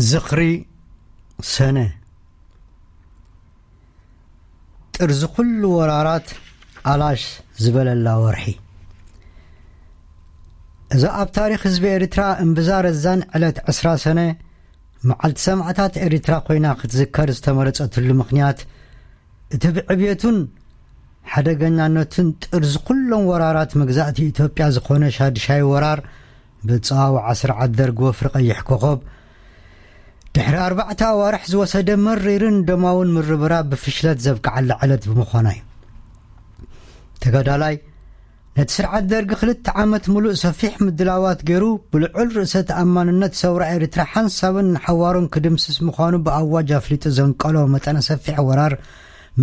ዝኽሪ ሰነ፣ ጥርዚ ኩሉ ወራራት ኣላሽ ዝበለላ ወርሒ። እዛ ኣብ ታሪኽ ህዝቢ ኤርትራ እምብዛ ረዛን ዕለት ዕስራ ሰነ፣ መዓልቲ ሰማዕታት ኤርትራ ኮይና ክትዝከር ዝተመረጸትሉ ምኽንያት፣ እቲ ብዕብየቱን ሓደገኛነቱን ጥርዚ ኩሎም ወራራት መግዛእቲ ኢትዮጵያ ዝኾነ ሻድሻይ ወራር ብጸዋውዓ ስርዓት ደርግ ወፍሪ ቀይሕ ኮኸብ ድሕሪ ኣርባዕተ ኣዋርሕ ዝወሰደ መሪርን ደማውን ምርብራብ ብፍሽለት ዘብቅዓላ ዕለት ብምዃና እዩ። ተጋዳላይ ነቲ ስርዓት ደርጊ ክልተ ዓመት ምሉእ ሰፊሕ ምድላዋት ገይሩ፣ ብልዑል ርእሰ ተኣማንነት ሰውራ ኤርትራ ሓንሳብን ንሓዋሩን ክድምስስ ምዃኑ ብኣዋጅ ኣፍሊጡ ዘንቀሎ መጠነ ሰፊሕ ወራር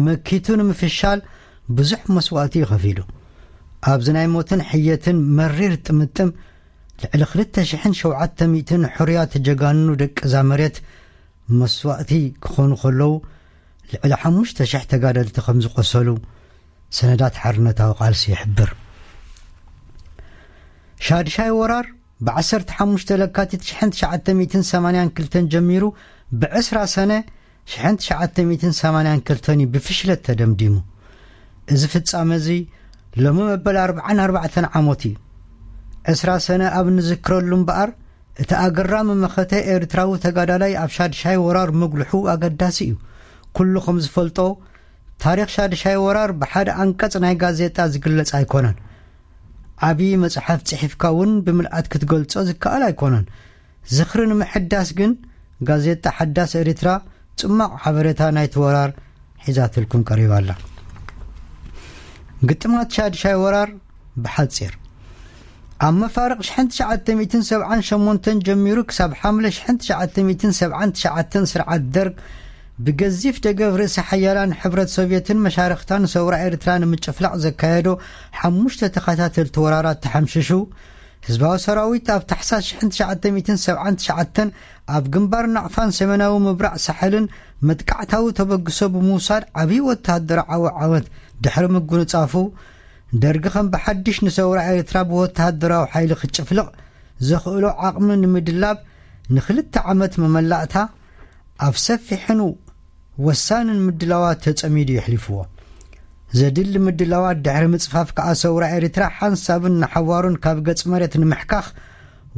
መኪቱ ንምፍሻል ብዙሕ መስዋእቲ እዩ ከፊሉ። ኣብዚ ናይ ሞትን ሕየትን መሪር ጥምጥም፣ ልዕሊ ክልተ ሽሕን ሸውዓተ ሚእትን ሕሩያት ጀጋኑ ደቂ እዛ መሬት መስዋእቲ ክኾኑ ከለዉ፣ ልዕሊ ሓሙሽተ ሽሕ ተጋደልቲ ከም ዝቖሰሉ ሰነዳት ሓርነታዊ ቃልሲ ይሕብር። ሻድሻይ ወራር ብ ዓሰርተ ሓሙሽተ ለካቲት ሽሕን ትሽዓተ ሚእትን ሰማንያን ክልተን ጀሚሩ፣ ብ ዕስራ ሰነ ሽሕን ትሽዓተ ሚእትን ሰማንያን ክልተን እዩ ብፍሽለት ተደምዲሙ። እዚ ፍጻመ እዚ ሎሚ መበል ኣርብዓን ኣርባዕተን ዓመቱ እዩ። ዕስራ ሰነ ኣብ እንዝክረሉ እምበኣር፣ እቲ ኣገራሚ መኸተ ኤርትራዊ ተጋዳላይ ኣብ ሻድሻይ ወራር ምግልሑ ኣገዳሲ እዩ። ኩሉ ከም ዝፈልጦ፣ ታሪኽ ሻድሻይ ወራር ብሓደ ኣንቀጽ ናይ ጋዜጣ ዝግለጽ ኣይኮነን። ዓቢ መጽሓፍ ጽሒፍካ እውን ብምልኣት ክትገልጾ ዝከኣል ኣይኮነን። ዝኽሪ ንምሕዳስ ግን፣ ጋዜጣ ሓዳስ ኤርትራ ጽማቕ ሓበሬታ ናይቲ ወራር ሒዛትልኩም ቀሪባ ኣላ። ግጥማት ሻድሻይ ወራር ብሓጺር። ኣብ መፋርቕ ሽሕን ትሽዓተ ሚእትን ሰብዓን ሸሞንተን ጀሚሩ ክሳብ ሓምለ ሽሕን ትሽዓተ ሚእትን ሰብዓን ትሽዓተን፣ ስርዓት ደርግ ብገዚፍ ደገፍ ርእሰ ሓያላን ሕብረት ሶቭየትን መሻርኽታን ሰውራ ኤርትራ ንምጭፍላቕ ዘካየዶ ሓሙሽተ ተኸታተልቲ ወራራት ተሓምሽሹ። ህዝባዊ ሰራዊት ኣብ ታሕሳስ ሽሕን ትሽዓተ ሚእትን ሰብዓን ትሽዓተን ኣብ ግንባር ናቕፋን ሰሜናዊ ምብራቕ ሳሕልን መጥቃዕታዊ ተበግሶ ብምውሳድ ዓብዪ ወተሃደራዊ ዓወት ድሕሪ ምጉንጻፉ፣ ደርጊ ከም ብሓድሽ ንሰውራ ኤርትራ ብወተሃደራዊ ሓይሊ ክጭፍልቕ ዘኽእሎ ዓቕሚ ንምድላብ ንኽልተ ዓመት መመላእታ ኣብ ሰፊሕን ወሳንን ምድላዋት ተጸሚዱ የሕሊፍዎ። ዘድሊ ምድላዋት ድሕሪ ምጽፋፍ ከኣ ሰውራ ኤርትራ ሓንሳብን ንሓዋሩን ካብ ገጽ መሬት ንምሕካኽ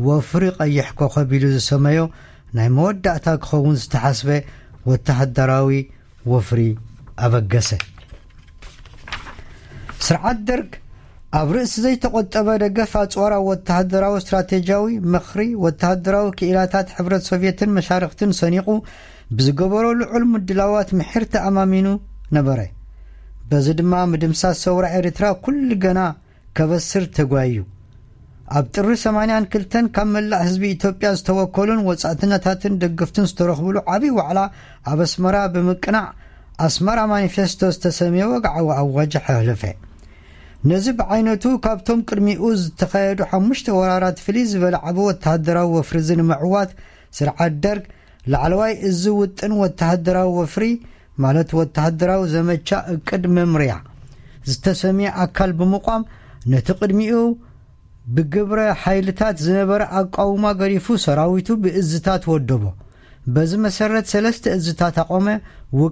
ወፍሪ ቀይሕ ኮኸብ ኢሉ ዝሰመዮ ናይ መወዳእታ ክኸውን ዝተሓስበ ወተሃደራዊ ወፍሪ ኣበገሰ። ስርዓት ደርግ ኣብ ርእሲ ዘይተቖጠበ ደገፍ ኣጽዋራዊ ወተሃደራዊ ስትራቴጂያዊ ምኽሪ፣ ወተሃደራዊ ክኢላታት ሕብረት ሶቭየትን መሻርኽትን ሰኒቑ ብዝገበሮ ልዑል ምድላዋት ምሒር ተኣማሚኑ ነበረ። በዚ ድማ ምድምሳስ ሰውራ ኤርትራ ኩሉ ገና ከበስር ተጓዩ። ኣብ ጥሪ ሰማንያን ክልተን ካብ መላእ ህዝቢ ኢትዮጵያ ዝተወከሉን ወጻእተኛታትን ደገፍትን ዝተረኽብሉ ዓቢ ዋዕላ ኣብ ኣስመራ ብምቅናዕ፣ ኣስመራ ማኒፌስቶ ዝተሰምየ ወግዓዊ ኣዋጅ ኣሕለፈ። ነዚ ብዓይነቱ ካብቶም ቅድሚኡ ዝተኻየዱ ሓሙሽተ ወራራት ፍልይ ዝበለ ዓቢ ወተሃደራዊ ወፍሪ እዚ ንምዕዋት፣ ስርዓት ደርግ ላዕለዋይ እዚ ውጥን ወተሃደራዊ ወፍሪ፣ ማለት ወተሃደራዊ ዘመቻ እቅድ መምርያ ዝተሰምየ ኣካል ብምቋም፣ ነቲ ቅድሚኡ ብግብረ ሓይልታት ዝነበረ ኣቃውማ ገዲፉ፣ ሰራዊቱ ብእዝታት ወደቦ። በዚ መሰረት ሰለስተ እዝታት ኣቆመ። ውቅ